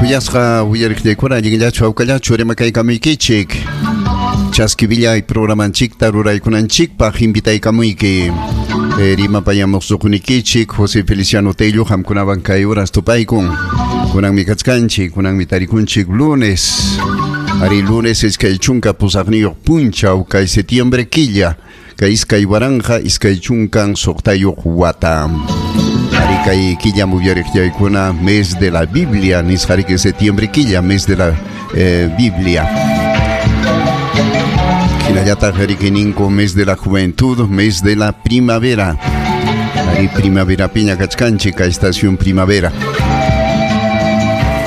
Kuyasqa uyariqllaykuna allinllachu hawkallachu rimakaykamuykichik. Chaski villay programanchikta ruraykunanchikpaq invitaykamuyki. Rimapayamuqsuqnikichik José Feliciano Tello qamkunawan kay horas tupaykun. Kunanmi kachkanchik, kunanmi tarikunchik lunes. Ari lunes iskay chunka pusaqniyuq punchaw kay septiembre killa. Kay iskay waranqa iskay chunkan suqtayuq wata. Ari kay killa uyariqllaykuna mes de la Biblia nisqariki septiembre killa mes de la Biblia. Hinallataq riki ninku mes de la juventud, mes de la primavera. Ari primavera piña kachkanchik kay estación primavera.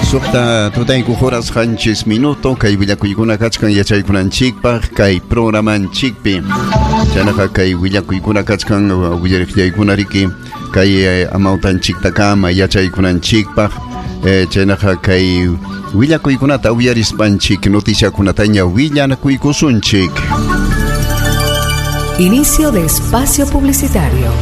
Suqta tutayku horas qanchis minuto kay willakuykuna kachkan yachaykunanchikpaq kay programanchikpi. Chaynaqa kay willakuykuna kachkan willariqllaykuna riki kay amawtanchiktakama yachaykunanchikpaq chaynaqa kay willakuykunata uyarispanchik noticiakunataña willanakuykusunchik. Inicio de espacio publicitario.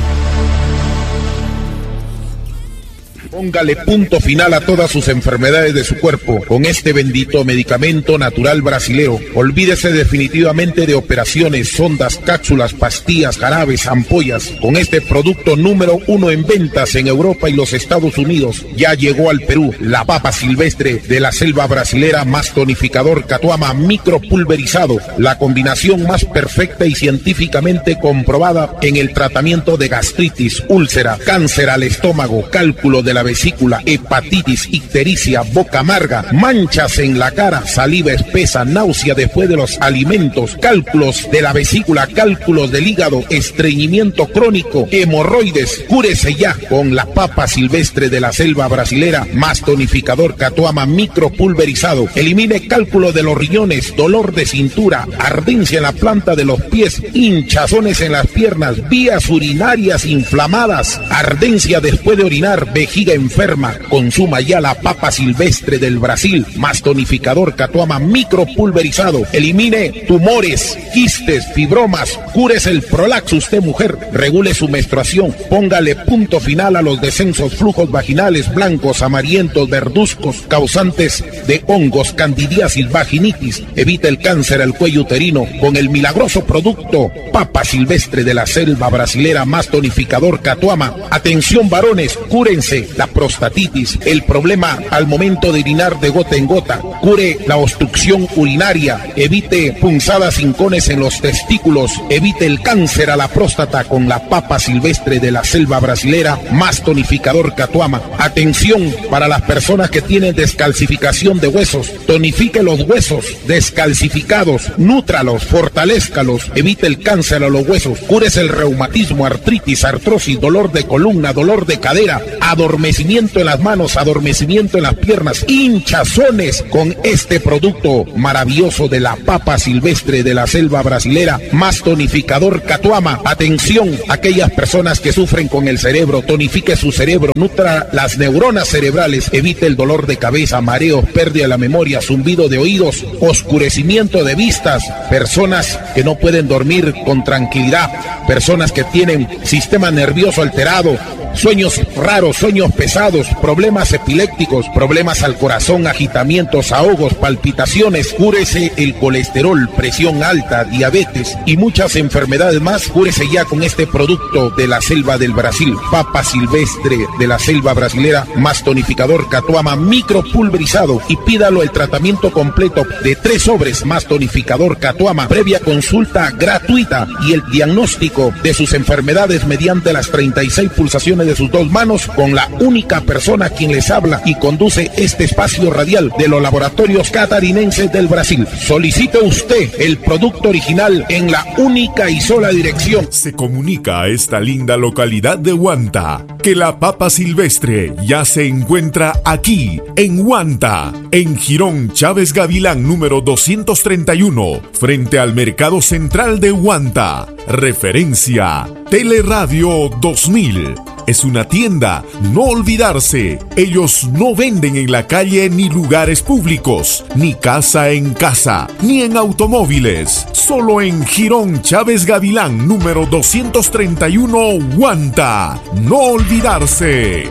Póngale punto final a todas sus enfermedades de su cuerpo con este bendito medicamento natural brasilero. Olvídese definitivamente de operaciones, sondas, cápsulas, pastillas, jarabes, ampollas. Con este producto número 1 en ventas en Europa y los Estados Unidos, ya llegó al Perú la papa silvestre de la selva brasilera más tonificador Catuama micropulverizado, la combinación más perfecta y científicamente comprobada en el tratamiento de gastritis, úlcera, cáncer al estómago, cálculo de la vesícula, hepatitis, ictericia, boca amarga, manchas en la cara, saliva espesa, náusea después de los alimentos, cálculos de la vesícula, cálculos del hígado, estreñimiento crónico, hemorroides. Cúrese ya con la papa silvestre de la selva brasilera, más tonificador Catuama micropulverizado. Elimine cálculo de los riñones, dolor de cintura, ardencia en la planta de los pies, hinchazones en las piernas, vías urinarias inflamadas, ardencia después de orinar, vejiga enferma. Consuma ya la papa silvestre del Brasil, más tonificador Catuama micropulverizado. Elimine tumores, quistes, fibromas, cúrese el prolaxo usted mujer, regule su menstruación, póngale punto final a los descensos, flujos vaginales blancos, amarillentos, verduzcos, causantes de hongos, candidiasis, vaginitis. Evite el cáncer al cuello uterino con el milagroso producto papa silvestre de la selva brasilera más tonificador Catuama. Atención varones, cúrense la prostatitis, el problema al momento de orinar de gota en gota, cure la obstrucción urinaria, evite punzadas hincones en los testículos, evite el cáncer a la próstata con la papa silvestre de la selva brasilera más tonificador Catuama. Atención para las personas que tienen descalcificación de huesos, tonifique los huesos descalcificados, nútralos, fortalézcalos, evite el cáncer a los huesos, cúrese el reumatismo, artritis, artrosis, dolor de columna, dolor de cadera, adormecimiento en las manos, adormecimiento en las piernas, hinchazones con este producto maravilloso de la papa silvestre de la selva brasilera, más tonificador Catuama. Atención, aquellas personas que sufren con el cerebro, tonifique su cerebro, nutra las neuronas cerebrales, evite el dolor de cabeza, mareos, pérdida de la memoria, zumbido de oídos, oscurecimiento de vistas, personas que no pueden dormir con tranquilidad, personas que tienen sistema nervioso alterado, sueños raros, sueños pesados, problemas epilépticos, problemas al corazón, agitamientos, ahogos, palpitaciones. Cúrese el colesterol, presión alta, diabetes y muchas enfermedades más. Cúrese ya con este producto de la selva del Brasil, papa silvestre de la selva brasilera, más tonificador Catuama micropulverizado, y pídalo el tratamiento completo de 3 sobres más tonificador Catuama, previa consulta gratuita y el diagnóstico de sus enfermedades mediante las 36 pulsaciones de sus 2 manos, con la única persona quien les habla y conduce este espacio radial de los laboratorios catarinenses del Brasil. Solicite usted el producto original en la única y sola dirección. Se comunica a esta linda localidad de Huanta que la papa silvestre ya se encuentra aquí, en Huanta, en Jirón Chávez Gavilán número 231, frente al Mercado Central de Huanta. Referencia Teleradio 2000. Es una tienda, no olvidarse. Ellos no venden en la calle ni lugares públicos, ni casa en casa, ni en automóviles. Solo en Jirón Chávez Gavilán, número 231, Huanta. No olvidarse.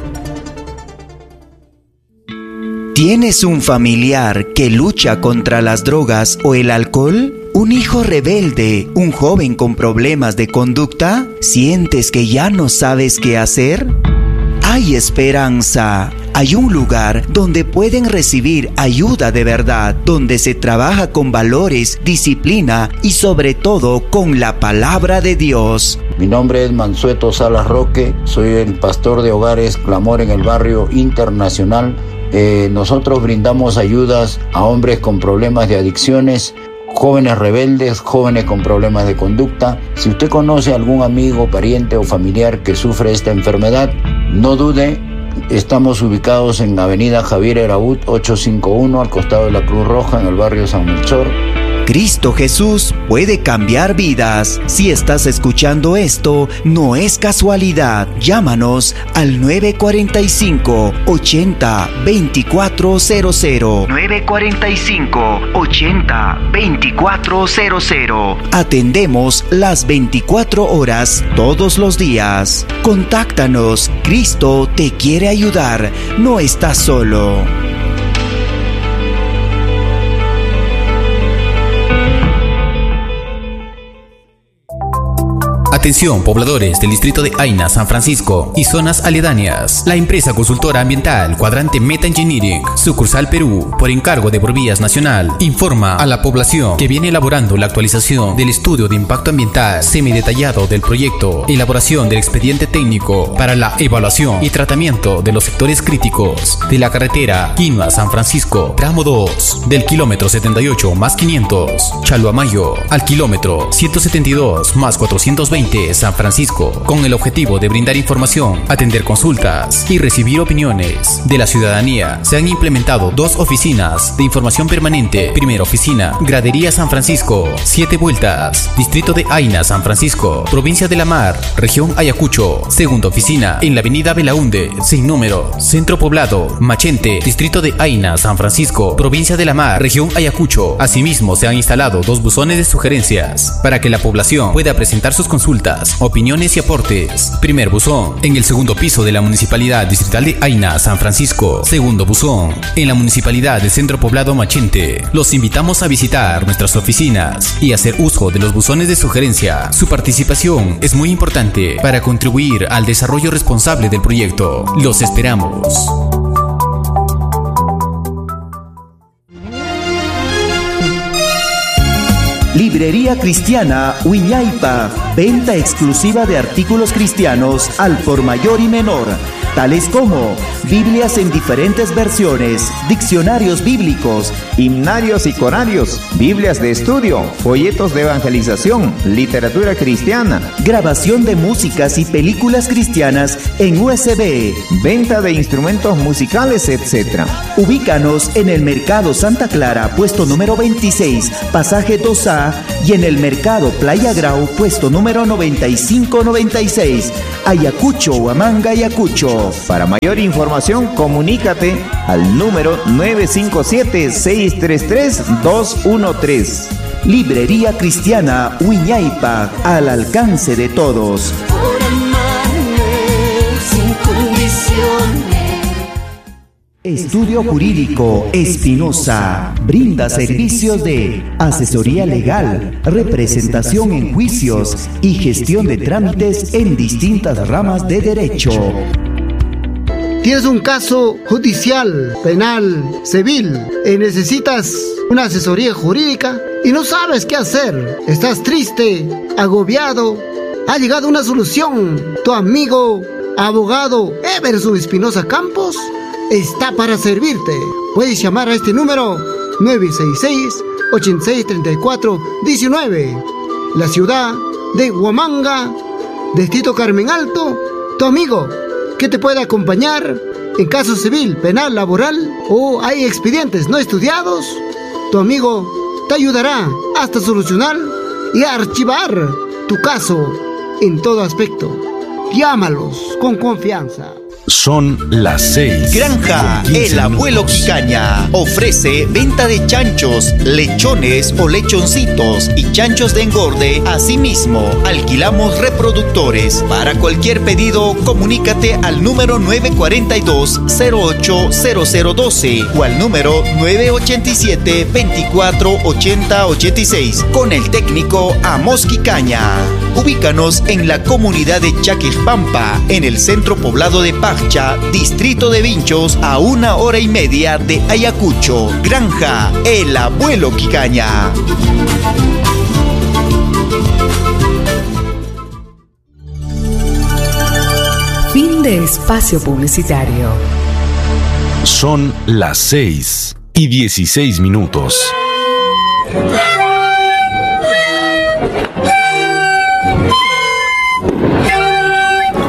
¿Tienes un familiar que lucha contra las drogas o el alcohol? ¿Un hijo rebelde? ¿Un joven con problemas de conducta? ¿Sientes que ya no sabes qué hacer? Hay esperanza. Hay un lugar donde pueden recibir ayuda de verdad, donde se trabaja con valores, disciplina y sobre todo con la palabra de Dios. Mi nombre es Mansueto Salas Roque, soy el pastor de hogares Clamor en el Barrio Internacional. Nosotros brindamos ayudas a hombres con problemas de adicciones, jóvenes rebeldes, jóvenes con problemas de conducta. Si usted conoce a algún amigo, pariente o familiar que sufre esta enfermedad, no dude. Estamos ubicados en Avenida Javier Eraut 851, al costado de la Cruz Roja, en el barrio San Melchor. Cristo Jesús puede cambiar vidas. Si estás escuchando esto, no es casualidad. Llámanos al 945 80 2400. 945 80 2400. Atendemos las 24 horas todos los días. Contáctanos. Cristo te quiere ayudar. No estás solo. Atención, pobladores del distrito de Aina, San Francisco y zonas aledañas. La empresa consultora ambiental Cuadrante Meta Engineering, sucursal Perú, por encargo de Provías Nacional, informa a la población que viene elaborando la actualización del estudio de impacto ambiental semidetallado del proyecto, elaboración del expediente técnico para la evaluación y tratamiento de los sectores críticos de la carretera Quinua-San Francisco, tramo 2, del kilómetro 78 más 500, Chaluamayo, al kilómetro 172 más 420, San Francisco, con el objetivo de brindar información, atender consultas y recibir opiniones de la ciudadanía. Se han implementado 2 oficinas de información permanente. Primera oficina, Gradería San Francisco, 7 Vueltas, Distrito de Aina, San Francisco, Provincia de La Mar, Región Ayacucho. Segunda oficina, en la Avenida Belaunde, sin número, Centro Poblado, Machente, Distrito de Aina, San Francisco, Provincia de La Mar, Región Ayacucho. Asimismo, se han instalado 2 buzones de sugerencias para que la población pueda presentar sus consultas, opiniones y aportes. Primer buzón, en el segundo piso de la Municipalidad Distrital de Aina, San Francisco. Segundo buzón, en la Municipalidad del Centro Poblado Machente. Los invitamos a visitar nuestras oficinas y hacer uso de los buzones de sugerencia. Su participación es muy importante para contribuir al desarrollo responsable del proyecto. Los esperamos. Librería Cristiana Wiñaypa, venta exclusiva de artículos cristianos al por mayor y menor, tales como Biblias en diferentes versiones, diccionarios bíblicos, himnarios y corarios, Biblias de estudio, folletos de evangelización, literatura cristiana, grabación de músicas y películas cristianas en USB, venta de instrumentos musicales, etc. Ubícanos en el Mercado Santa Clara, puesto número 26, pasaje 2A, y en el Mercado Playa Grau, puesto número 9596, Ayacucho, Huamanga, Ayacucho. Para mayor información, comunícate al número 957-633-213. Librería Cristiana Wiñaypa, al alcance de todos. Por amarme sin condiciones. Estudio Jurídico Espinosa brinda servicios de asesoría legal, representación en juicios y gestión de trámites en distintas ramas de derecho. Tienes un caso judicial, penal, civil y necesitas una asesoría jurídica y no sabes qué hacer. Estás triste, agobiado. Ha llegado una solución. Tu amigo, abogado Everson Espinosa Campos, está para servirte. Puedes llamar a este número 966-8634-19. La ciudad de Huamanga, Distrito Carmen Alto, tu amigo que te puede acompañar en caso civil, penal, laboral o hay expedientes no estudiados. Tu amigo te ayudará hasta solucionar y archivar tu caso en todo aspecto. Llámalos con confianza. Son las 6. Granja El Abuelo Quicaña ofrece venta de chanchos, lechones o lechoncitos y chanchos de engorde. Asimismo, alquilamos reproductores. Para cualquier pedido, comunícate al número 942-080012 o al número 987-248086 con el técnico Amos Quicaña. Ubícanos en la comunidad de Chaquejpampa, en el centro poblado de Paccha, distrito de Vinchos, a 1h30 de Ayacucho. Granja El Abuelo Quicaña. Fin de espacio publicitario. Son las 6:16.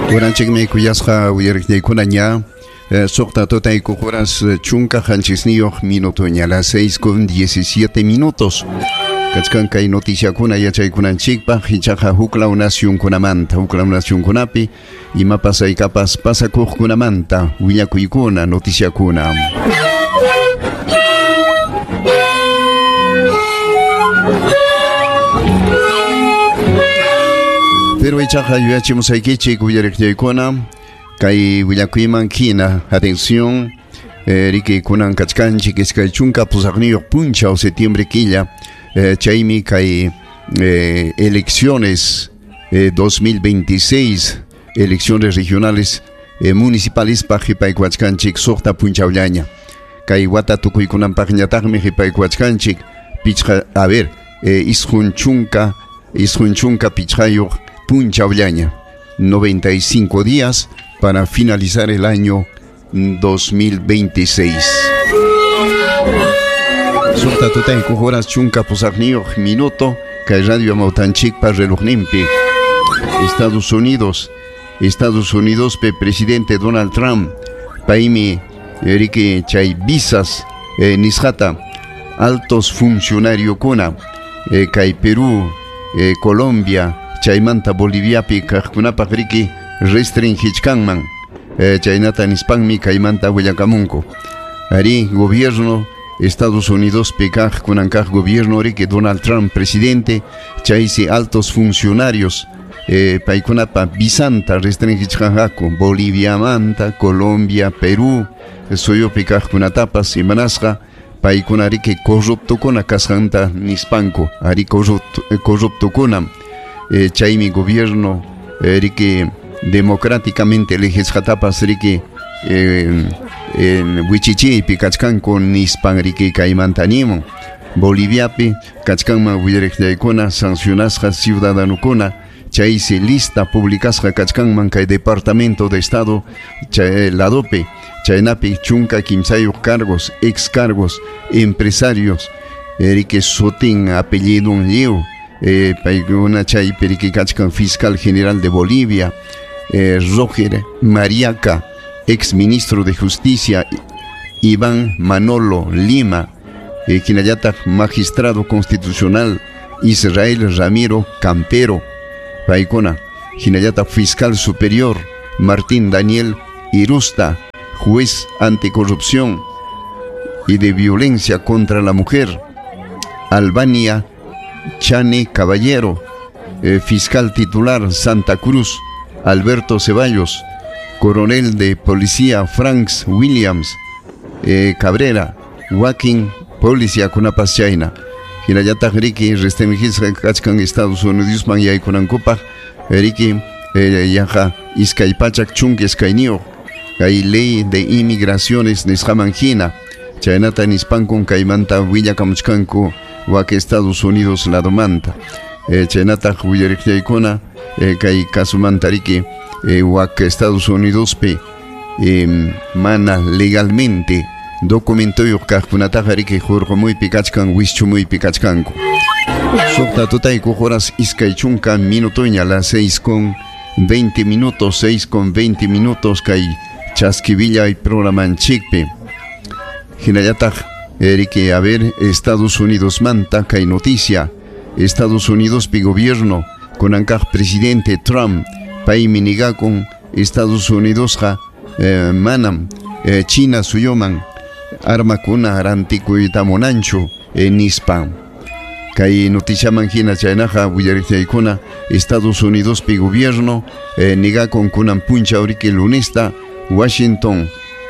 Kuranchikmi kuyasqa uyariqniykunaña suqta tutaykuq horas chunka qanchisniyuq minutoña, las 6:17. Kachkan kay noticiakuna yachaykunanchikpaq ichaqa huklaw nacionkunamanta, huklaw nacionkunapi imapas aykapas pasakuqkunamanta willakuykuna noticiakuna. Pero ichaqa yuyachimusaykichik uyariqniykuna kay willakuyman hina, atención, riki kunan kachkanchik iskay chunka pusaqniyuq punchaw septiembre killa, chaymi kay elecciones 2026, elecciones regionales municipales paq qhipaykuwachkanchik suqta punchawllaña. Kay wata tukuykunanpaqñataqmi qhipaykuwachkanchik pichqa, a ver, isqun chunka pichqayuq punchawllaña, 95 días para finalizar el año 2026. Suqta tutaykuq horas chunka pusaqniyuq minuto kay radio Amawtanchikpa relojninpi. Estados Unidos pe presidente Donald Trump paymi riki chay visas nisqata altos funcionariokuna kay Perú, Colombia, chaymanta Boliviapi kaqkunapaq riki restringichkanman, chaynata nispanmi kaymanta willakamunku. Ari gobierno Estados Unidos pi kaq kunan kaq gobierno riki Donald Trump presidente chaysi altos funcionarios paykunapa visanta restringichkanqaku Boliviamanta, Colombia, Perú suyupi kaqkunatapas imanasqa paykuna riki corruptokuna kasqanta nispanku, ari corruptokunam. Chaymi gobierno riki democráticamente elegisqatapas riki wichichiypi kachkanku nispan riki kaymanta nimun. Boliviapi kachkanman willariqllaykuna sancionasqa ciudadanukuna chaysi lista publicasqa kachkanman kay Departamento de Estado chay ladopi chaynapi chunka kimsayuq cargos, ex cargos, empresarios riki sutin apellidun lliw paykuna chaypi riki kachkan fiscal general de Bolivia, Roger Mariaca, ex ministro de Justicia Iván Manolo Lima, hinallataq magistrado constitucional Israel Ramiro Campero, paykuna hinallataq fiscal superior Martín Daniel Irusta, juez anticorrupción y de violencia contra la mujer Albania Chane Caballero, fiscal titular Santa Cruz Alberto Ceballos, coronel de policía Franks Williams Cabrera, Joaquín policía kunapas chayna. Hinallataq riki restringisqa kachkan Estados Unidosman yaykunankupaq riki yaqa iskay pachak chunka iskayniyuq kay ley de inmigraciones nisqaman hina chaynata nispankun kaymanta willakamuchkanku wak Estados Unidos ladomanta. Chaynataq willariqllaykuna kay kasumanta riki wak Estados Unidospi mana legalmente documentoyuq kaqkunataqa riki hurqumuypi kachkan wischumuypi kachkanku. Suqta tutaykuq horas iskay chunka minutoña, las 6:20, 6:20 kay chaskivillay programanchikpi. Hinallataq riki a ver Estados Unidos manta kay noticia Estados Unidos pi gobierno kunankaq presidente Trump paymi nigakun Estados Unidosqa Manam China suyuman armakuna rantikuyta munanchu nispa. Kay noticiaman hina chaynaqa willariqchaykuna Estados Unidospi gobierno nigakun kunan punchaw riki lunesta Washington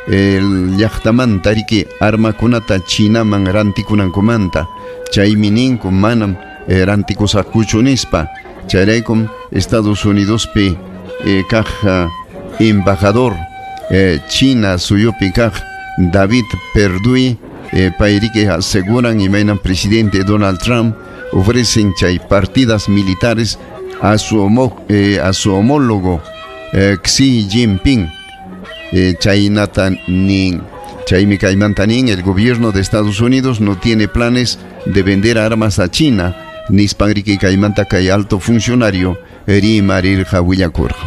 llaqtamanta riki armakunata Chinaman rantikunankumanta chaymi ninku manam rantikusaqkuchu nispa. Chayraykum Estados Unidospi kaq embajador China suyupi kaq David Perdue payriki aseguran imaynan presidente Donald Trump ofrecen chay partidas militares a su homólogo Xi Jinping. Chaynata nin chaymi kaymanta nin el gobierno de Estados Unidos no tiene planes de vender armas a China nispan riki kaymanta kay alto funcionario rimarirqa willakurqa.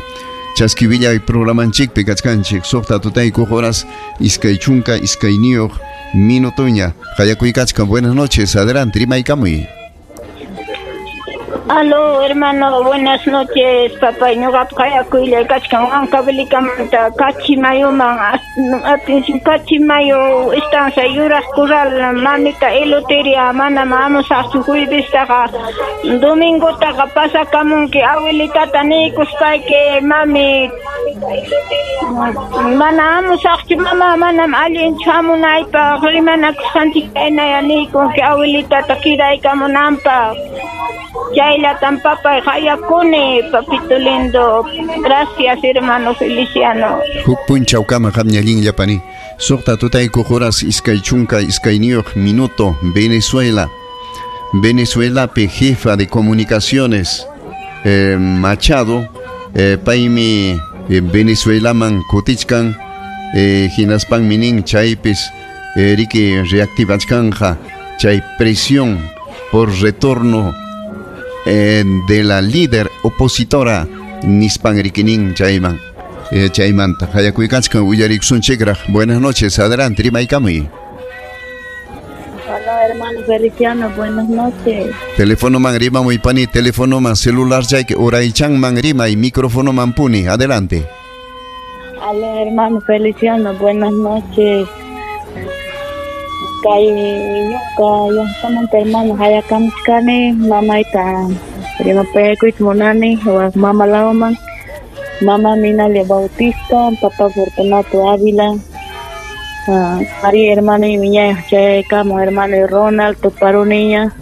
Chaski willay programanchikpi kachkanchik suqta tutaykuq horas 22 minutoña. Qayakuykachkan. Buenas noches, adelante, rimaykamuy. Aló, hermano, buenas noches, papá. Ñuqapa qayakuylay kachkan Huancavelikamanta Kachimayuman, atención Kachimayu estancia Yuraq Corral, mamita Eluteria, manam hamusaqchu juevestaqa, domingotaqa pasakamunki abuelitata niykuspayki, mami, mana hamusaqchu, mama, manam allinchu hamunaypaq, rimanakusqanchik kaynaya niykunki abuelitata quedaykamunanpaq. Chaylatam papay qayakuni, papito lindo. Gracias, hermano Feliciano. Huk punchawkama qamña allinlla pani. Suqta tutaykuq horas 22 minuto, Venezuela. Venezuelapi jefa de comunicaciones Machado, paymi Venezuelaman kutichkan, hinaspanmi nin chaypis riki reactivachkanja chay presión por retorno de la líder opositora nispan rikinin chayman chaymanta qayakuykachkan willarikusunchikraq. Buenas noches, adelante, rimaykamuy. Hola, hermano Feliciano, buenas noches. Teléfono man rimamuy pani, teléfono man celular chayki uraychan man rimay, micrófono man puni, adelante. Hola, hermano Feliciano, buenas noches. Kay ñuqa llaqtamanta hermano hayakamuchkani mamayta rimapayakuyta munani wak mama lawman. Mama Minalia Bautista, papá Fortunato Ávila, María hermano y miña chayakamu hermano Ronald tuparuniña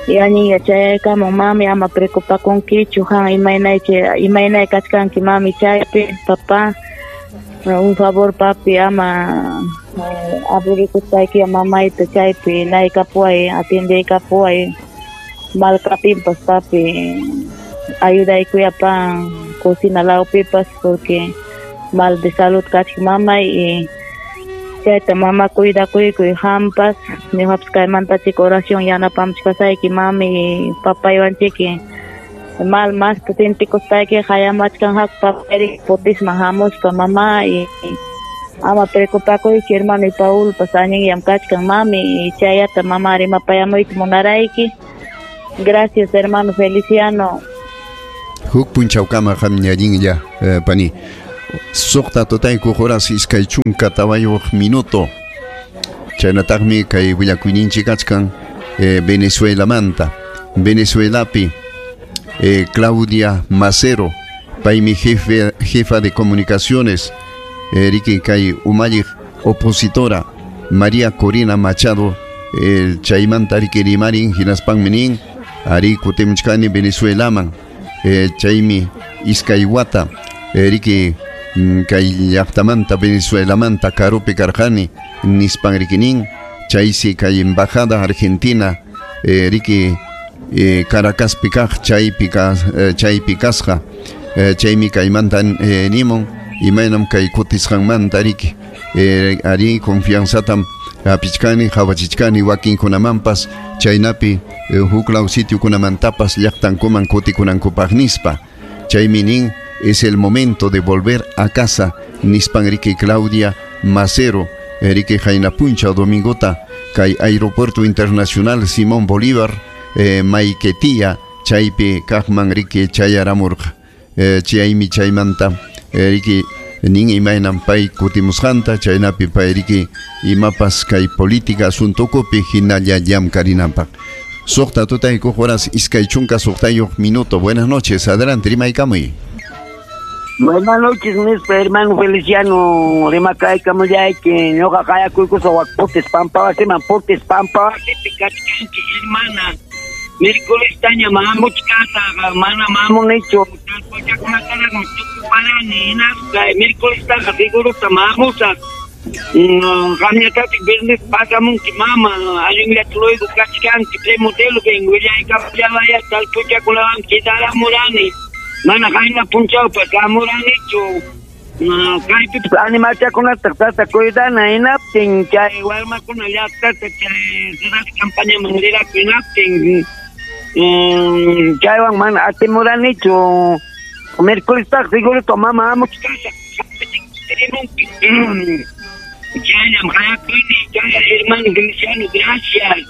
y añiña chayakamu mami ama preocupakunkichu han imaynay kachkanki mami chaypi papá un favor papi ama aburikuspayki mamayta chaypi naykapuway atiendeykapuway malkapinpas papi ayudaykuyapan cocina lawpipas porque mal de salud kachka mamay y chayta mama cuidakuykuy hampas ñuqapas kaymantachik oración yanapamchkasayki mami papaywanchiki mal masta sintikuspayki qayamachkanqaku papayri potisman hamuspa mama y ama preocupakuychu hermano y Paulpas allinyam kachkan mami y chayata mama rimapayamuyta munarayki. Gracias, hermano Feliciano. Huk punchawkama qamña allinlla pani. Suqta tutaykuq horas 24 minuto. Chaynataqmi kay willakuyninchik kachkan Venezuelamanta. Venezuelapi Claudia Macero, paymi jefa de comunicaciones, riki kay umalliq opositora María Corina Machado, chaymanta riki rimarin hinaspanmi nin ari kutimuchkani Venezuelaman, chaymi iskay wata riki kay llaqtamanta Venezuelamanta karupi karqani nispan riki nin chaysi kay embajada Argentina riki Caracaspi kaq chaypi kasqa chaymi kaymanta nimun imaynam kay kutisqanmanta riki ari confianzatam hapichkani hawachichkani wakinkunamanpas chaynapi huklaw sitiokunamantapas llaqtankuman kutikunankupaq nispa. Chaymi nin es el momento de volver a casa nispan riki Claudia Macero riki qaynapunchaw domingota kay Aeropuerto Internacional Simón Bolívar Maiquetía chaypi kaqman riki chayaramurqa. Chaymi chaymanta riki Nin imaynam pay kutimusqanta chaynapi pay riki imapas kay política asuntukupi hinalla llamkarinanpaq. Suqta tutaykuq horas iskay chunka suqtayuq minuto. Buenas noches, adelante, rimaykamuy. Buenas noches, mis hermano Feliciano, rimakaykamullayki, ñuqa qayakuykusaq wak Portes Pampawasiman, Portes Pampawasipi kachkanchik, hermana. Miércoles taña mamuchkasaq, mana mamunichu, talpuchakunataraqmi tukuparani, hinaspa miércoles taqa segurota mamusaq. Qamñatataq viernes pasamunki mama, allinllata luego kachkanki, premodelopin willaykamullawaya talpuchakunawan quedaramurani. Mana qayna punchawpas hamuranichu. Kaypipas animalchakunata tata cuidana hinaptin chay warmakuna llaqtata chay ciudad campañaman riraku hinaptin chaywan mana atimuranichu. Miércoles seguro mama hamuchkasaq. Chayllam qayakuyni, chay hermano Feliciano, gracias.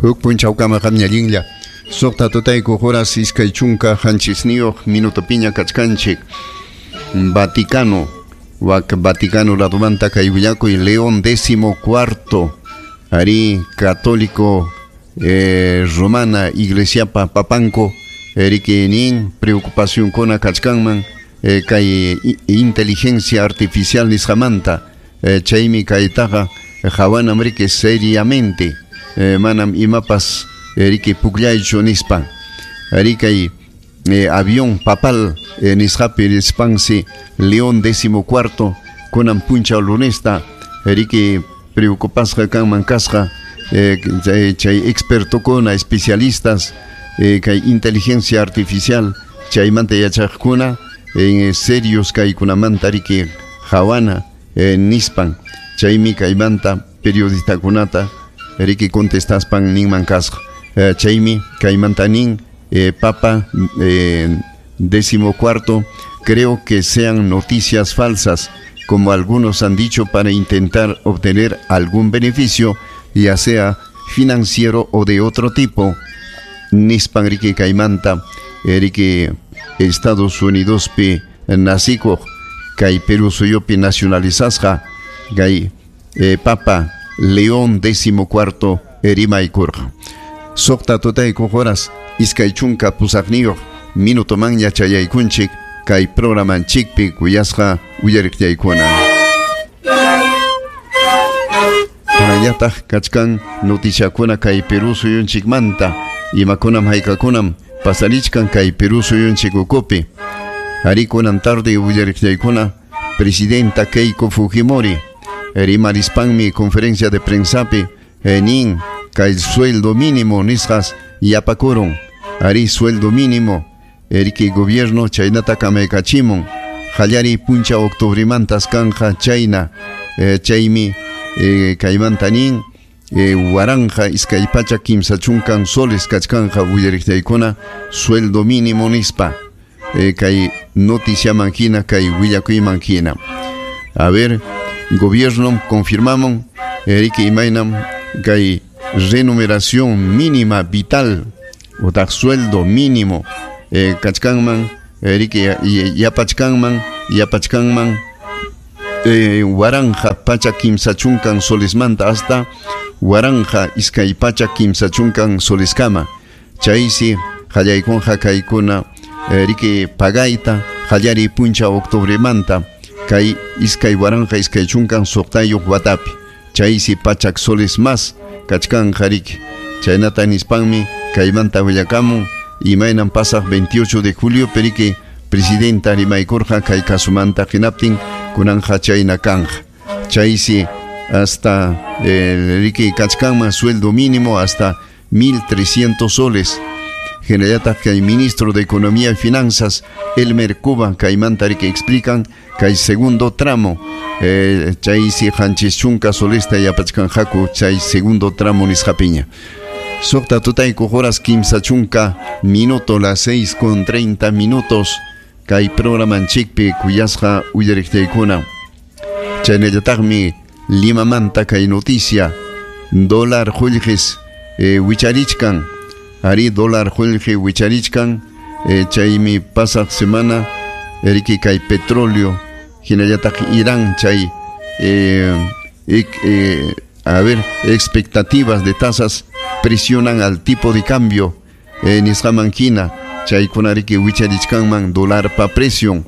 Huk punchawkama qamña allinlla. Suqta tutaykuq horas iskay chunka qanchisniyuq minuto piña kachkanchik. Vaticano, wak Vaticano ladumanta kay willakuy León XIV, ari católico romana iglesiapa papanco, riki nin preocupación kuna kachkanman kay inteligencia artificial nisqamanta, chaymi kaytaqa hawanam riki seriamente, manam imapas riki pukllaychu nispa. Ari kay avión papal nisqapi rispansi León XIV kunan punchaw lunesta riki preocupasqa kanman kasqa chay expertokuna especialistas kay inteligencia artificial chaymanta yachaqkuna serios kaykunamanta riki hawana nispan chaymi kaymanta periodistakunata riki contestaspan ninman kasqa. Chaymi kaymanta nin Papa XIV, creo que sean noticias falsas, como algunos han dicho, para intentar obtener algún beneficio, ya sea financiero o de otro tipo. Nispan riki kaymanta riki Estados Unidos pi nasikuq kay Perú suyupi nacionalizasqa kay Papa León XIV rimaykurqa. Suqta tutaykuq horas iskay chunka pusaqniyuq minutoman yachayaykunchik kay programanchikpi kuyasqa uyariqllaykuna. Kunallataq kachkan noticiakuna kay Perú suyunchikmanta imakunam haykakunam pasarichkan kay Perú suyunchik ukupi. Ari kunan tarde uyariqllaykuna presidenta Keiko Fujimori rimarispanmi conferencia de prensapi nin kay sueldo mínimo nisqas yapakurun. Ari sueldo mínimo riki gobierno chaynata kamaykachimun qallariy puncha octubremantas kanja chayna chaymi kaymanta nin waranja iskay pachak kimsa chunkan soles kachkanja uyariqllaykuna sueldo mínimo nispa kay noticiaman hina kay willakuyman hina. A ver, gobierno confirmamos riki imaynam kay renumeración mínima vital otaq sueldo mínimo kachkanman riki yapachkanman waranja pachak kimsa chunkan solesmanta hasta waranja iskay pachak kimsa chunkan soleskama. Chaysi qallaykunqa kaykuna riki pagayta qallariy puncha octubremanta kay iskay waranja iskay chunkan suqtayuq watapi. Chaysi pachak soles más kachkanja riki. Chaynata nispanmi kaymanta willakamun imaynam pasaq 28 de julio periki presidenta rimaykurqa kay kasumanta hinaptin kunanja chayna kanja. Chaysi hasta riki kachkanman sueldo mínimo hasta 1.300 soles. Hinallataq kay ministro de Economía y Finanzas Elmer Cuba kaymanta riki explican kay segundo tramo chaysi qanchis chunka solesta yapachkanqaku chay segundo tramo nisqapiña. Suqta tutaykuq horas kimsa chunka minuto, las 6:30 minutos kay programanchikpi kuyasqa uyariqllaykuna. Chaynallataqmi Limamanta kay noticia dólar qullqis wicharichkan. Ari dólar qullqi wicharichkan chaymi pasaq semana riki kay petróleo Hinallataq Irán chay a ver, expectativas de tasas presionan al tipo de cambio nisqaman hina chaykuna riki wicharichkanman dólar pa presión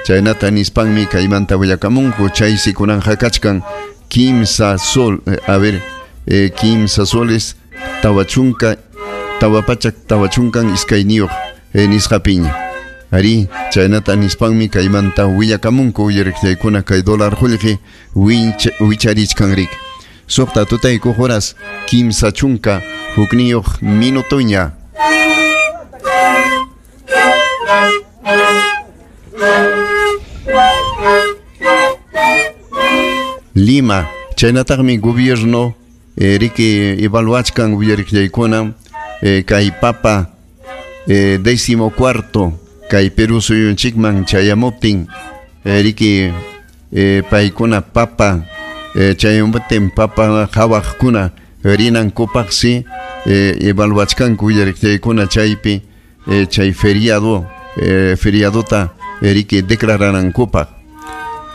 chaynata nispanmi kaymanta willakamunku chaysi kunanja kachkan kimsa sol a ver kimsa soles tawachunka tawapachak tawachunkan iskayniyuq nisqapiña ari chaynata nispanmi kaymanta willakamunku uyariqchaykuna kay dólar qullqi wicharichkan riki suqta tutaykuq horas 30 hukniyuq minutoña. Lima, chaynataqmi gobierno riki evaluachkan uyariqllaykuna kay papa 14 kay Perú suyunchikman chayamuptin riki paykuna papa chayamuptin papa qhawaqkuna rinankupaqsi evaluachkanku uyariqllaykuna chaypi chay feriado feriadota riki declaranankupaq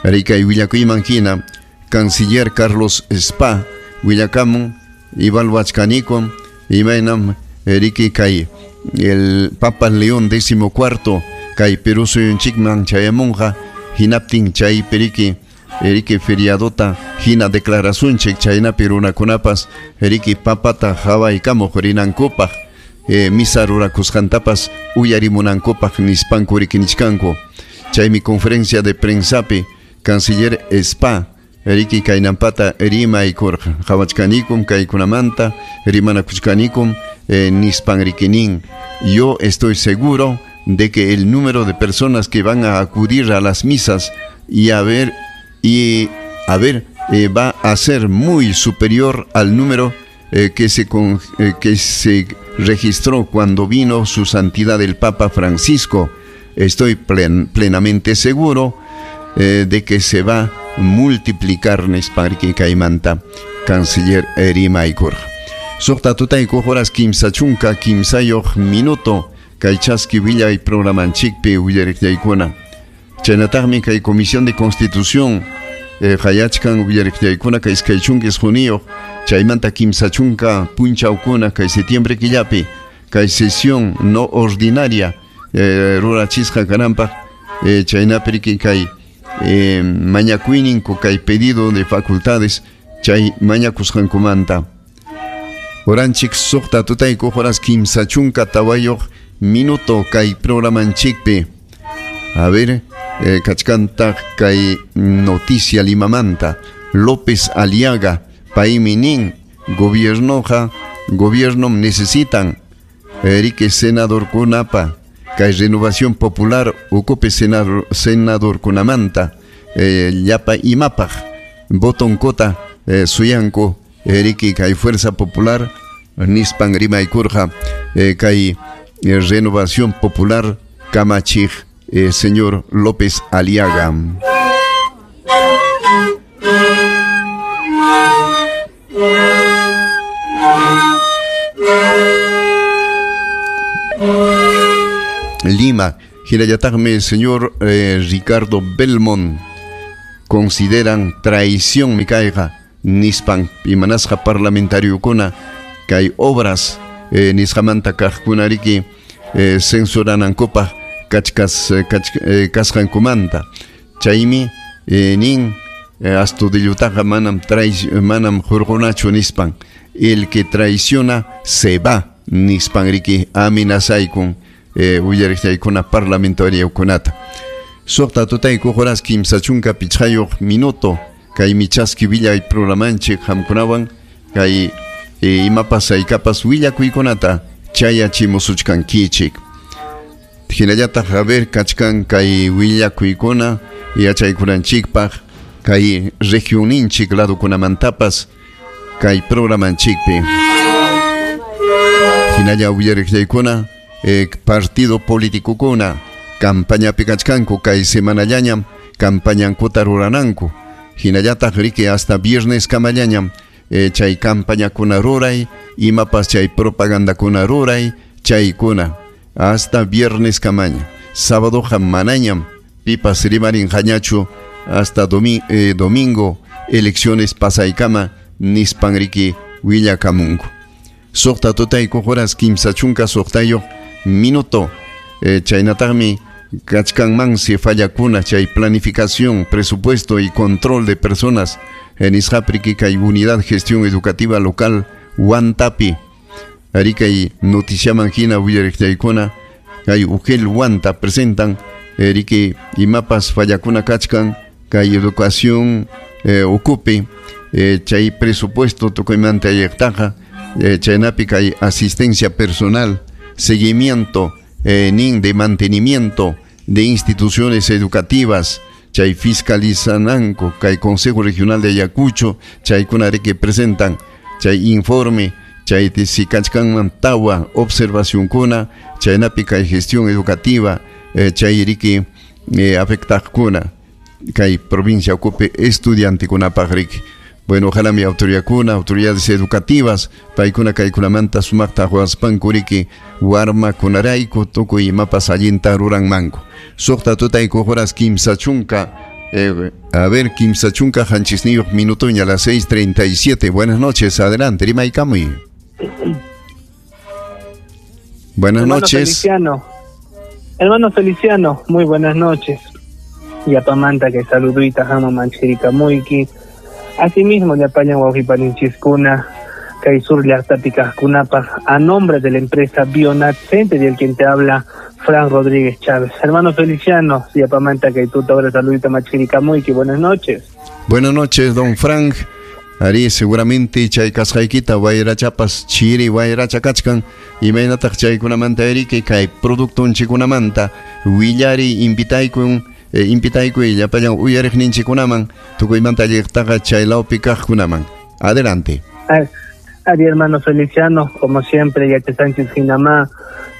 rikay willakuyman hina canciller Carlos Spa willakamun evaluachkaniku imaynam riki kay el Papa León XIV kay Perú suyunchikman chayamunqa hinaptin chaypi riki riki feriadota hina declarasunchik chaynapi runakunapas riki papata qhawaykamuq rinankupaq misa rurakusqantapas uyarimunankupaq nispanku riki nichkanku chaymi conferencia de prensapi canciller Spa riki kaynampata rimaykurqa qhawachkanikum kaykunamanta rimanakuchkanikum nispan riki nin yo estoy seguro de que el número de personas que van a acudir a las misas y a ver va a ser muy superior al número que se registró cuando vino su santidad el Papa Francisco. Estoy plenamente seguro de que se va a multiplicar nispan riki kaymanta canciller rimaykurqa. Suqta tutaykuq horas 33 minuto kay chaski willay programanchikpi uyariqllaykuna. Chaynataqmi kay Comisión de Constitución qayachkan uyariqllaykuna kay 29 chaymanta 30 punchawkuna kay septiembre killapi kay sesión no ordinaria rurachisqa kananpaq chaynapi riki kay mañakuyninku kay pedido de facultades chay mañakusqankumanta. Oranchik suqta tutaykuq horas 34 minuto kay programanchikpi. A ver, kachkantaq kay noticia Limamanta López Aliaga paymi nin gobierno necesitan riki senadorkunapa kay Renovación Popular ukupi senadorkunamanta llapa imapaq votonkota suyanku riki kay Fuerza Popular nispan rimaykurqa kay Renovación Popular kamachiq señor López Aliaga. Lima, hinallataqmi señor Ricardo Belmont consideran traición mi kayqa nispan imanasqa parlamentariokuna kay obras nisqamanta kaqkuna riki censuranankupaq kasqankumanta chaymi nin astudillutaqa manam manam hurqunachu nispan el que traiciona se va nispan riki amenazaykun uyariqllaykuna parlamentariokunata. Suqta tutaykuq horas 35 minuto kaymi chaski willay programanchik qamkunawan kay imapas haykapas willakuykunata chayachimusuchkankichik. Hinallataq a ver kachkan kay willakuykuna yachaykunanchikpaq kay regionninchik ladukunamantapas kay programanchikpi. Hinalla uyariqllaykuna partido politikukuna campañapi kachkanku kay semanallañam campañankuta rurananku hinallataq riki hasta viernes kamallañam chay campañakuna ruray imapas chay propagandakuna ruray chaykuna hasta viernes kamaña sábado manañam Pipas rimarinqañachu hasta domingo elecciones pasaykama nispanriki willakamunku. Suqta tutaykuq horas 36 minuto. Chaynataqmi kachkanmansi fallakuna chay planificación, presupuesto y control de personas en nisqapriki kay unidad gestión educativa local Huantapi. Arikay noticiaman hina willariqtaykuna kay UGEL Huanta presentan riki imapas fallakuna kachkan kay educación ukupi chay presupuesto tukuymanta ayaqtaqa chaynapi kay asistencia personal, seguimiento nin de mantenimiento de instituciones educativas chay fiscalizananku kay Consejo Regional de Ayacucho chaykuna riki presentan chay informe chay si kachkanman tawa observacionkuna chaynapi kay gestión educativa chay riki afectaqkuna kay provincia ukupi estudiantekunapaq riki. Bueno, ojalá mi autoridadkuna, autoridades educativas, paykuna kaykunamanta sumaqta huaspanku riki warmakunarayku tukuy imapas allinta ruranmanku. Suqta tutayku horas 30, a ver, 37 minutoña, a las 6:37. Buenas noches, adelante, rimaykamuy. Buenas hermano noches. Feliciano. Hermano Feliciano, muy buenas noches. Yapamanta que saludita hama manchirika muiki. Asimismo, Yapaña Huajipaninchiskuna, kay sur llaqtapi kaqkunapaq, a nombre de la empresa Bionat Center y el quien te habla, Fran Rodríguez Chávez. Hermano Feliciano, Yapamanta kay tuta ahora saludita machirika muiki. Buenas noches. Buenas noches, don Frank. Ari seguramente chay kasqaykita wayrachapas chiri wayracha kachkan imaynataq chaykunamanta eriki kay productonchikunamanta willari invitaykun invitaykuy llapallan uyariqninchikunaman tukuymanta alliqtaqa chay lawpi kaqkunaman. Adelante. Ari hermano Feliciano, como siempre Yacha Sánchez hinamá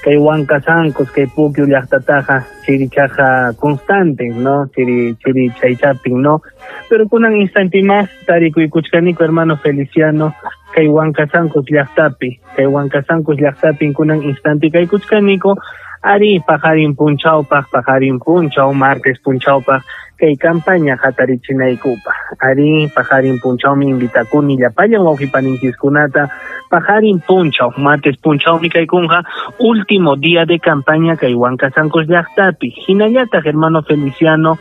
kay Huancasancos kay Pukyu llaqtataqa chirichaqa constante, ¿no? Chiri chiri chaychapin, ¿no? Pero kunan instante más tarikuykuchkaniku hermano Feliciano kay Huancasancos llaqtapi, kay Huancasancos llaqtapi kunan instante kaykuchkaniku ari pajarin punchawpaq, pajarin punchaw, martes punchawpaq kay campaña hatarichinaykupa. Ari pajarin punchawmi invitakuni llapallan wawqipaninchikkunata pajarin punchaw, martes punchawmi kaykunqa último día de campaña kay Huancasancos llaqtapi. Hinallataq hermano Feliciano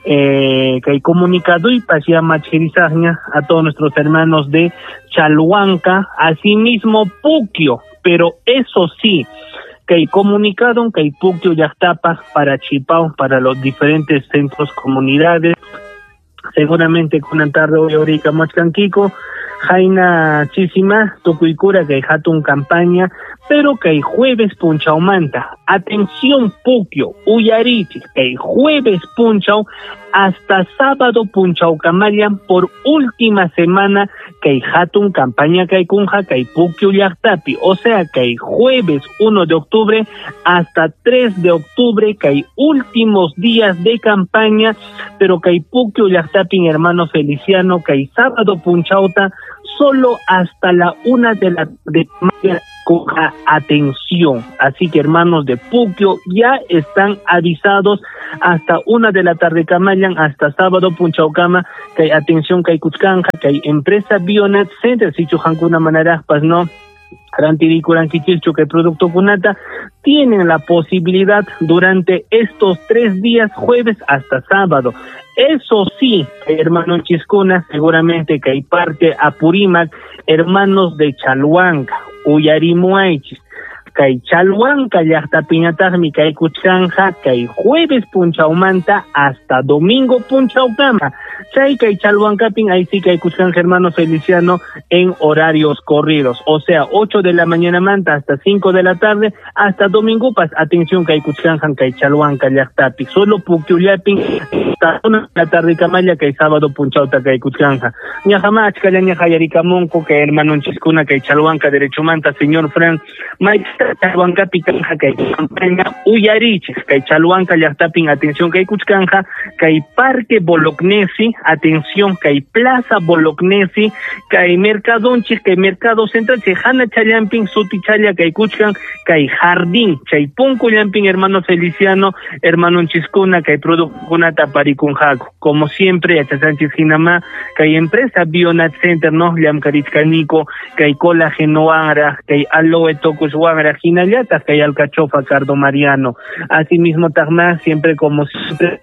kay comunicaduypas ya machirisaqña a todos nuestros hermanos de Chalhuanca, asimismo Puquio, pero eso sí, kay comunicado kay Puquio llaqtapaq para Chipao, para los diferentes centros, comunidades. Seguramente kunan tarde hoy ahorita machkankiku Jaina chisima tukuykura kay hatun campaña, pero kay jueves punchawmanta. Atención Puquio, uyarichik, kay jueves punchaw hasta sábado punchawkamallan por última semana kay hatun campaña kay kunja kay Puquio llaqtapi. O sea kay jueves 1 de octubre hasta 3 de octubre kay últimos días de campaña, pero kay Puquio llaqtapi hermano Feliciano kay sábado punchawta solo hasta la 1 de la tarde. Atención, así que hermanos de Puquio ya están avisados hasta 1 de la tarde kamallan, hasta sábado punchawkama kay atención kay kuchkanja kay empresa Bionat Center sichu hankuna manaraqpas no rantirikurankichikchu kay producto kunata tienen la posibilidad durante estos 3 días, jueves hasta sábado. Eso sí, hermano Chiscuna, seguramente que hay parte Apurímac, hermanos de Chalhuanca, Uyarimuaychis, kay Chalhuanca llaqtapiñataqmi kay kuchkanja kay jueves punchawmanta hasta domingo punchawkama. Chay kay Chalhuancapin ahí sí kay kuchkanja hermano Feliciano en horarios corridos, o sea 8 de la mañana manta hasta 5 de la tarde hasta domingo pas. Atención kay kuchkanja kay Chalhuanca llaqtapi, solo Puquiullapin hasta 1 de la tarde kamalla kay sábado punchawta kaykuchkanja. Ñaqama achkallaña qallarikamunku kay hermanonchiskuna kay Chalhuanca derechomanta señor Fran mayta Chalhuancapi kanja kay campaña uyarichik kay Chalhuanca llaqtapin atención kaykuchkanja kay Parque Bolognesi, atención kay Plaza Bolognesi, kay Mercadonchik kay Mercado Central chay hana challampin sutichalla kaykuchkan kay Jardín chay punku llampin hermano Feliciano hermanonchiskuna kay productokunata parikunjaku como siempre yachachanchis hinama kay empresa Bionat Center no llamkarichkaniko kay colágeno wanra kay aloe tocus wanra hinallataq kay alcachofa cardo mariano asimismo taqma siempre como siempre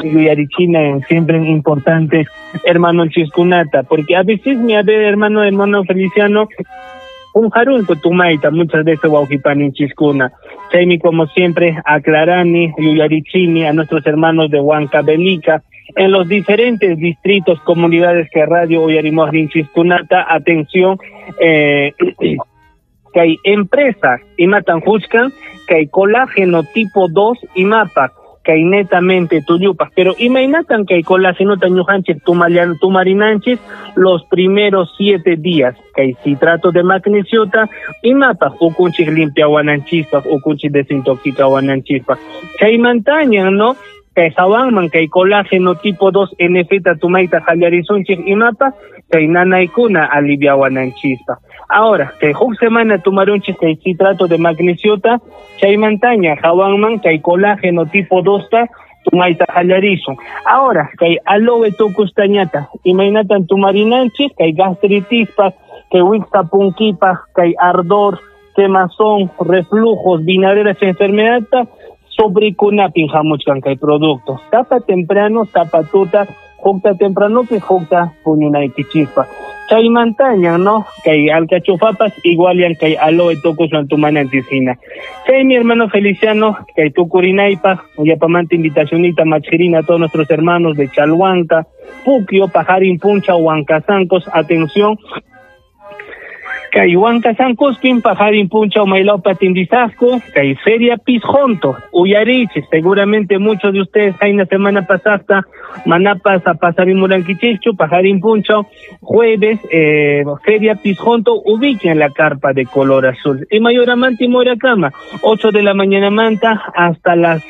yuyarichina siempre importante hermano chiskunata porque a veces mi a ver hermano Feliciano un jarunco tumaita muchas veces wawqipaninchiskuna chaymi como siempre aclarani yuyarichini a nuestros hermanos de Huancavelica en los diferentes distritos, comunidades que radio uyarimuaqninchiskunata, atención, que hay empresas imatan juchkan, que hay colágeno tipo 2 imapa, que hay netamente tuyupa, pero imaynatan que hay colágeno tañujanchis tumarinanchis los primeros 7 días, que hay citrato de magnesiota imapa, ukunchis limpia wananchispa, ukunchis desintoxica wananchispa, chaymantañan, ¿no? Kay hawanman kay colágeno tipo 2 NF tumayta qallarisunchik imapa kay nanaykuna aliviawananchispa. Ahora, kay huk semana tumarunchik kay citrato de magnesiota chaymantaña hawanman kay colágeno tipo 2 ta tumayta qallarisun. Ahora, kay aloe tukustañata imaynatan tumarinanchik kay gastritispa, kay wiksapunkipa, kay ardor, quemazón, reflujos, vinagreras enfermedad sobre kunapin hamuchkan kay producto. Tapa temprano, tapa tuta, jukta temprano, jukta puñunaykichispa. Chaymantaña, ¿no? Kay alcachofapas igual yan kay aloe tokuswan tumananchis hina. Chay mi hermano Feliciano, kay tukurinaypaq, yapamanta invitacionita machirina a todos nuestros hermanos de Chalhuanca, Puquio, Pajarín Puncha, Huancasancos, atención. Kay Huancasancospin, Pajarín Puncha, Mailaupa, Tindizasco, kay Feria Pisjonto, Uyariche, seguramente muchos de ustedes hay una semana pasada, Manapas a Pasarín Muranquichichu, Pajarín Puncha, jueves, Feria Pisjonto, ubiquen la carpa de color azul. Y Mayoramante y Moiracama, 8 de la mañana manta hasta las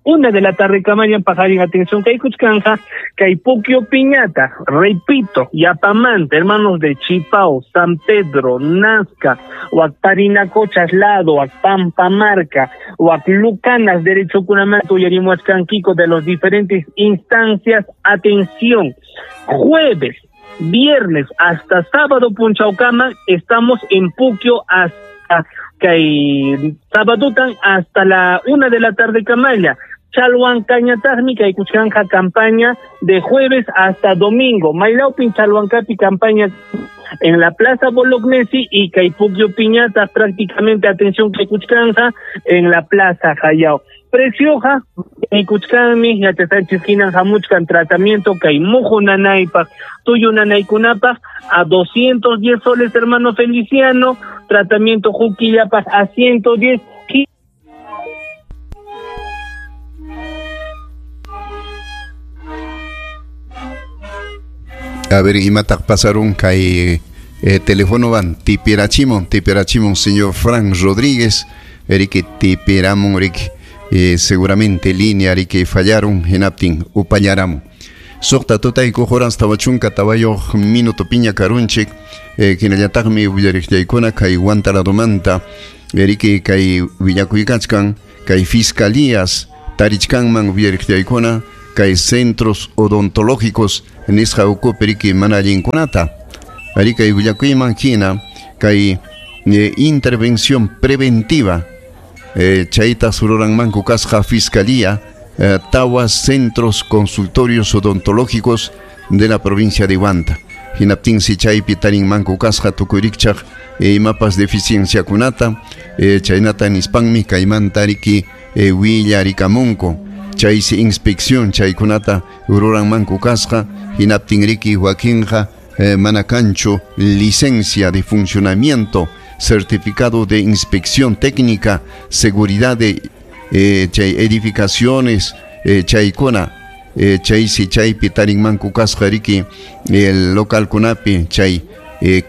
1 de la tarde camaña Pajarín, atención, kay Cuchcanja, kay Puquio Piñata, repito, Yapamante, hermanos de Chipao, San Pedro, Nazca, Huacparinacochas, Lado, Huacpampamarca, Huaclucanas, Derecho Cunamanto, Yarimuachcanquico, de los diferentes instancias, atención, jueves, viernes, hasta sábado, Punchaucama, estamos en Puquio hasta kay sábado hasta la 1 de la tarde camalla. Chalhuancañataqmi kay kuchkanja campaña de jueves hasta domingo. Maylaupin Chalhuancapi campaña en la Plaza Bolognesi y kay Puquio Piñata prácticamente atención kay kuchkanja en la Plaza Jayao. Precioja, kuchkanmi yachasqanchis hinan hamuchkan tratamiento kay muju nanaypaq, tuyu nanaykunapaq a 210 soles hermano Feliciano, tratamiento juquillapaq a 110. A ver, imataq pasaron kay teléfono van tipirachimon señor Frank Rodríguez, Eric tipiramon Eric seguramente línea Eric fallaron hinaptin upallaram. Suqta tutayku horas tawachunka tawayuq minuto piña karunchik hinallataqmi willariqllaykuna kay Huantaladomanta Eric kay willakuykachkan kay fiscalías tarichkanman willariqllaykuna kay centros odontológicos nisqa ukupi riki mana allinkunata ari kay willakuyman hina kay intervención preventiva chayta sururanmanku kasqa fiscalía tawa centros consultorios odontológicos de la provincia de Huanta hinaptinsi chaypi tarinmanku kasqa tukuyrikchaq imapas deficienciakunata chaynata nispanmi kaymanta riki willarikamunku chaysi inspección chaykunata ruranmanku kasqa hinaptinriki wakinqa mana kanchu licencia de funcionamiento, certificado de inspección técnica, seguridad de chay edificaciones, chaykuna Chaysi chaypi tarinmanku kasqa riki el localkunapi chay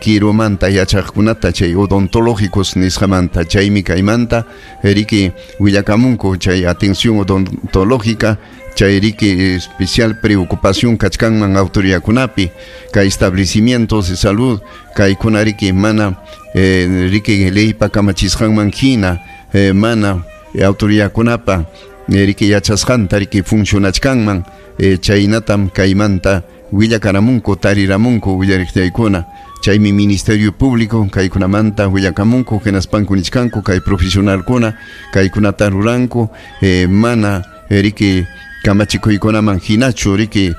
kirumanta yachaqkunata chay odontológicos nisqamanta chaymi kaymanta riki willakamunku chay atención odontológica chay riki especial preocupación kachkanman autoridadkunapi kay establecimientos de salud kaykuna riki mana riki leypa kamachisqanman hina mana autoridadkunapa riki yachasqanta riki funcionachkanman chaynatam kaymanta willakaramunku tariramunku willariqtaykuna chaymi Ministerio Público kaykunamanta willakamunku hinaspanku nichkanku kay profesionalkuna kaykunata ruranku mana riki kamachikuykunaman hinachu riki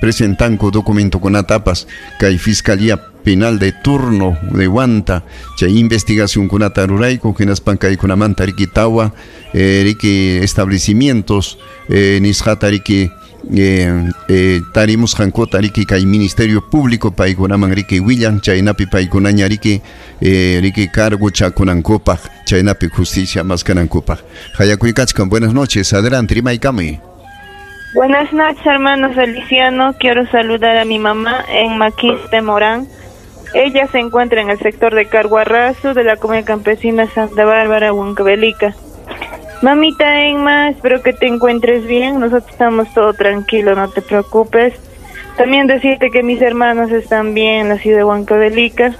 presentanku documentokunatapas kay Fiscalía Penal de turno de Huanta chay investigacionkunata rurayku hinaspan kaykunamanta riki tawa riki establecimientos nisqata riki tarimusqankuta riki kay Ministerio Público paykunaman riki willan chaynapi paykunaña riki riki cargo chakunankupaq chaynapi justicia maskanankupaq. Hayakuykachkan, buenas noches, adelante, rimaykamuy. Buenas noches, hermano Feliciano. Quiero saludar a mi mamá en Maquiste Morán. Ella se encuentra en el sector de Carguarrazo de la comunidad campesina Santa Bárbara, Huancavelica. Mamita Emma, espero que te encuentres bien. Nosotros estamos todo tranquilo, no te preocupes. También decirte que mis hermanos están bien en la ciudad de Huancavelica.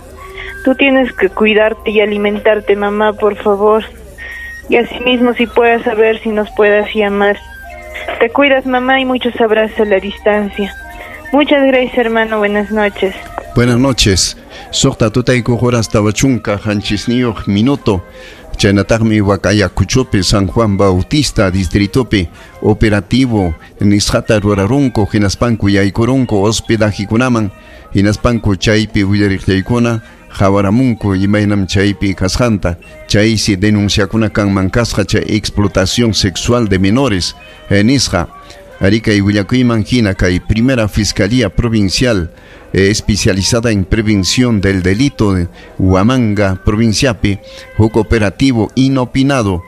Tú tienes que cuidarte y alimentarte, mamá, por favor. Y asimismo, si puedes saber si nos puedas llamar. Te cuidas, mamá, y muchos abrazos a la distancia. Muchas gracias, hermano. Buenas noches. Buenas noches. Suqta tutaykuq horas 40 qanchisniyuq minuto. Chaynataqmi Huacayacuchopi San Juan Bautista distritopi operativo nisqata rurarunku hinaspanku yaykurunku hospedajikunaman hinaspanku chaypi willariqllaykuna qhawaramunku imaynam chaypi kasqanta chaysi denunciakuna kanman kasqa chay explotación sexual de menores nisqa. Ari kay willakuyman hina kay primera Fiscalía Provincial especializada en prevención del delito de Huamanga provinciapi huk operativo inopinado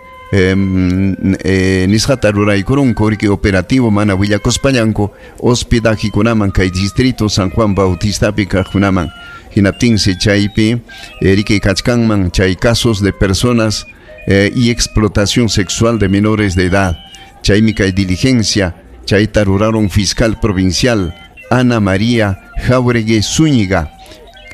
nisqata ruraykurunku riki operativo mana willakuspañanku hospedajikunaman kay distrito San Juan Bautistapi kaqkunaman hinaptinsi chaypi riki kachkanman chay casos de personas y explotación sexual de menores de edad chaymi kay diligencia chayta ruraron fiscal provincial Ana María Jauregui Zúñiga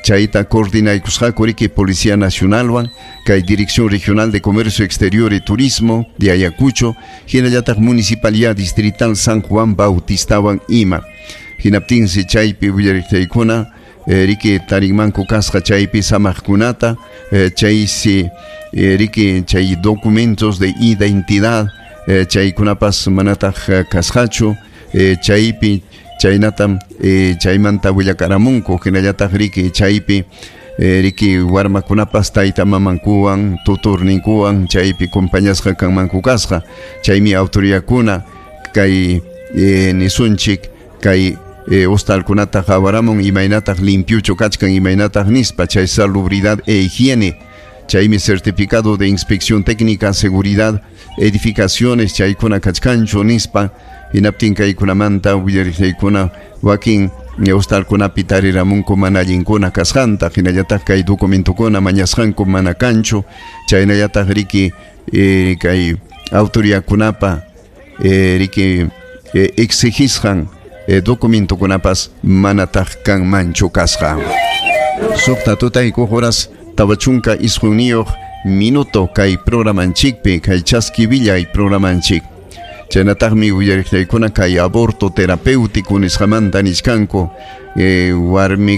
chayta coordinaykusqaku riki Policía Nacionalwan kay Dirección Regional de Comercio Exterior y Turismo de Ayacucho hinallataq Municipalidad Distrital San Juan Bautistawan ima hinaptinsi chaypi willariqtaykuna riki tarinmanku kasqa chaypi samaqkunata chaysi riki chay documentos de identidad chaykunapas manataq kasqachu chaypi chaynatam chaymanta willakaramunku hinallataq riki chaypi riki warmakunapas tayta mamankuwan tuturninkuwan chaypi compañasqa kanmanku kasqa chaymi autoridadkuna kay nisunchik kay hostalkunata qhawaramun imaynataq limpiuchu kachkan imaynataq nispa chay salubridad e higiene chaymi certificado de inspección técnica seguridad edificaciones chaykuna kachkanchu nispa hinaptin kaykunamanta willariqllaykuna wakin hostalkunapi tariramunku mana allinkuna kasqanta hinallataq kay documentokuna mañasqanku mana kanchu chaynallataq riki kay autoridadkunapa riki exigisqan documentokunapas manataq kanmanchu kasqa. Suqta tutaykuq horas 49 minuto kay programanchikpi kay chaski villay programanchik. Chaynataqmi willariqllaykuna kay aborto terapéutico nisqamanta nichkanku warmi